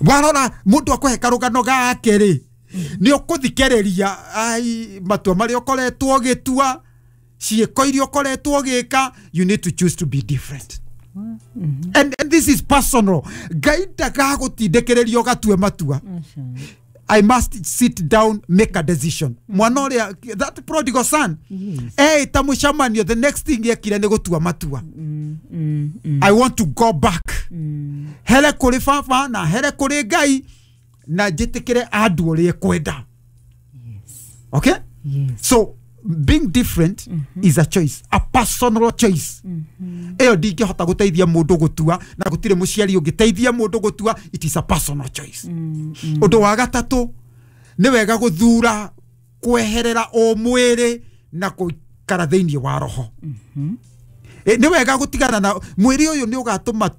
Warora mũndũ akũhe karũgano gake rĩ, nĩ ũkũthikĩrĩria ai matua marĩa ũkoretwo ũgĩtua, ciĩko iria ũkoretwo ũgĩka. You need to choose to be different. And this is personal. Ngai ndagagũtindĩkĩrĩria ũgatue matua. I must sit down, make a decision. Mwana ũrĩa, that prodigal son, eĩta mũcemanio, the next thing ekire nĩ gũtua matua. I want to go back, here kũrĩ baba na here kũrĩ Ngai, na njĩtĩkĩre andũ ũrĩa ekwenda. Okay? Yes. So being different is a choice, a personal choice. Ĩyo ndingĩhota gũteithia mũndũ gũtua, na gũtirĩ mũciari ũngĩteithia mũndũ gũtua. It is a personal choice. Ũndũ wa gatatũ, nĩ wega gũthura kweherera ũmwĩrĩ na gũikara thĩinĩ wa roho. Nĩ wega gũtigana na mwĩrĩ ũyũ, nĩ ũgatũma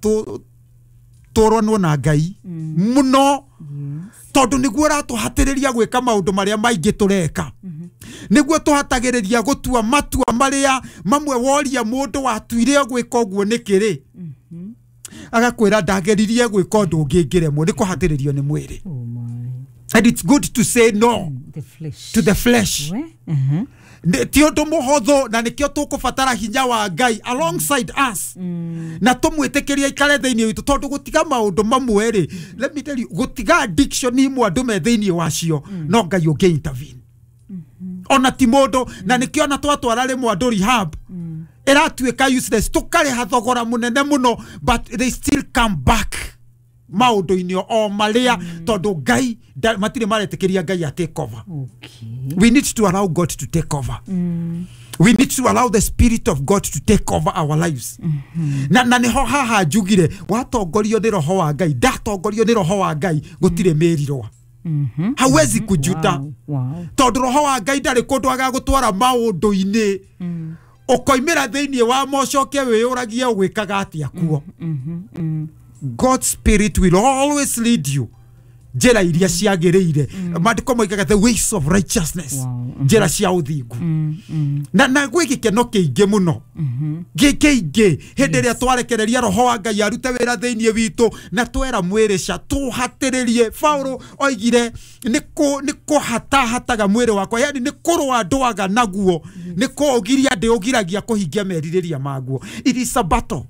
tũronwo na Ngai mũno, tondũ nĩguo ũratũhatĩrĩria gwĩka maũndũ marĩa maingĩ tũreka, nĩguo tũhatagĩrĩria gũtua matua marĩa mamwe. Woria mũndũ watuire gwĩka ũguo nĩkĩ rĩ, agakwĩra, "Ndageririe gwĩka ũndũ ũngĩ ngĩremwo." Nĩ kũhatĩrĩrio nĩ mwĩrĩ. Oh my. And it's good to say no The flesh. to the flesh. We? Ti ũndũ mũhũthũ, na nĩkĩo tũkũbatara hinya wa Ngai alongside us, na tũmwĩtĩkĩrie aikare thĩinĩ witũ, tondũ gũtiga maũndũ mamwe rĩ, let me tell you, gũtiga addiction imwe andũ me thĩinĩ wacio, no Ngai ũngĩ intervene, ona ti mũndũ. Na nĩkĩo ona twatwara rĩmwe andũ rehab, ĩratuĩka useless, tũkarĩha thogora mũnene mũno, but they still come back maũndũ-inĩ o marĩa, tondũ Ngai matirĩ maretĩkĩria Ngai a take over. We need to allow God to take over. We need to allow the Spirit of God to take over our lives. Na niho haha njugire, watongorio nĩ Roho wa Ngai, ndatongorio nĩ Roho wa Ngai, gũtirĩ mĩrirwa, hauwezi kujuta, tondũ Roho wa Ngai ndarĩ kũndũ agagũtwara maũndũ-inĩ ũkoimĩra thĩinĩ wa mocoke wĩyũragie ũgwĩkaga atĩa kuo. God's Spirit will always lead you njĩra iria ciagĩrĩire. Maandĩko moigaga the ways of righteousness, njĩra cia ũthingu. Na gwĩ gĩkeno kĩingĩ mũno, kĩingĩ, hĩndĩ ĩrĩa twarekereria Roho wa Ngai arute wĩra thĩinĩ witũ, na twera mwĩrĩ ca tũhatĩrĩrie. Paulo oigire, nĩ kũhatahataga mwĩrĩ wakwa, yani nĩ kũrũa ndũaga naguo, nĩ kũũgiria ndĩũgiragia kũhingia merirĩria maguo. It is a battle,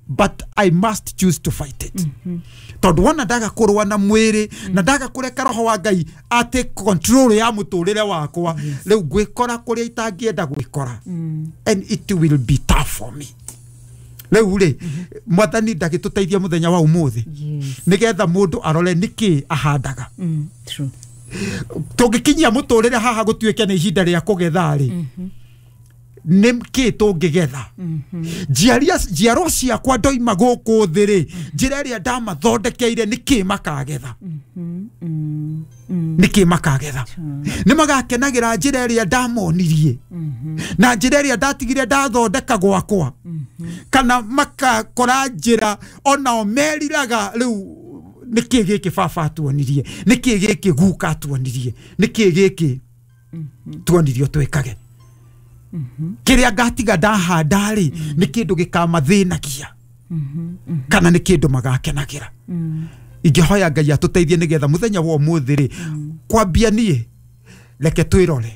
but I must choose to fight it, tondũ wona ndaga kũrũa na mwĩrĩ na ndaga kũreka Roho wa Ngai ate control ya mũtũrĩre wakwa, rĩu ngwĩkora kũrĩa itangĩenda gwĩkora, and it will be tough for me. Rĩu rĩ, Mwathani ndagĩtũteithia mũthenya wa ũmũthĩ, nĩgetha mũndũ arore nĩkĩ ahandaga. True. Tũngĩkinyia mũtũrĩre haha gũtuĩke nĩ ihinda rĩa kũgetha rĩ, nĩ kĩ tũngĩgetha? Njiarwa ciakwa ndoima gũkũ thĩ rĩ, njĩra ĩrĩa ndamathondekeire, nĩ kĩ makagetha? Nĩ kĩ makagetha? Nĩ magakenagĩra njĩra ĩrĩa ndamonirie na njĩra ĩrĩa ndatigire ndathondeka gwakwa, kana makakora njĩra onao meriraga, "Rĩu nĩ kĩ gĩkĩ baba atuonirie? Nĩ kĩ gĩkĩ guka atuonirie? Nĩ kĩ gĩkĩ tuonirio twĩkage?" Kĩrĩa ngatiga ndahanda rĩ, nĩ kĩndũ gĩkamathĩnagia kana nĩ kĩndũ magakenagĩra? Ingĩhoya Ngai atũteithie, nĩgetha mũthenya wa ũmũthĩ rĩ, kwambia niĩ, reke twĩrore,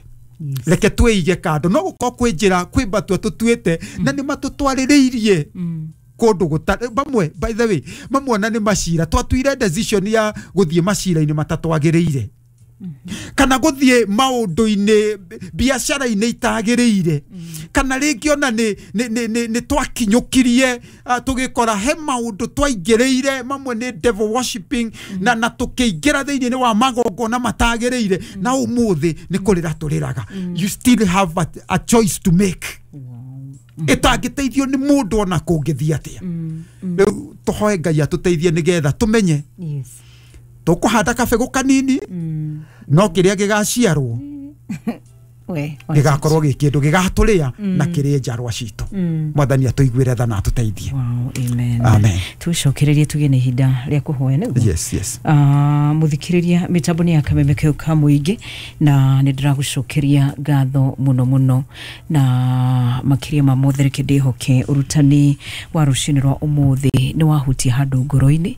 reke twĩige kando. No gũkorwo kwĩ njĩra, kwĩ matua tũtuĩte na nĩ matũtwarĩrĩirie kũndũ gũtarĩ mamwe. By the way, mamwe ona nĩ macira twatuire decision ya gũthiĩ macira-inĩ matatwagĩrĩire, kana gũthiĩ maũndũ-inĩ, biacara-inĩ itagĩrĩire, kana rĩngĩ ona nĩ twakinyũkirie, tũgĩkora he maũndũ twaingĩrĩire, mamwe nĩ devil worshiping, na tũkĩingĩra thĩinĩ wa magongona matagĩrĩire, na ũmũthĩ nĩ kũrĩra tũrĩraga. You still have a choice to make ĩtangĩteithio nĩ mũndũ ona kũngĩthiĩ atĩa. Rĩu tũhoe Ngai atũteithie, nĩgetha tũmenye tũkũhanda kabegũ kanini, no kĩrĩa gĩgaciarwo We. gĩgakorwo gĩ kĩndũ gĩgatũrĩa na kĩrĩe njarwa citũ. Mwathani atũiguĩre tha na atũteithie. Wow, amen. Amen. Tucokererie tugĩe na ihinda rĩa kũhoya nĩguo. Yes. Mũthikĩrĩria, mĩtambo nĩ ya Kameme kĩu ka mũingĩ, na nĩ ndĩragũcokeria ngatho mũno mũno, na makĩria ma mothe reke ndĩhoke ũrutani wa rũcinĩ rwa ũmũthĩ nĩ wahutia handũ ngoro-inĩ.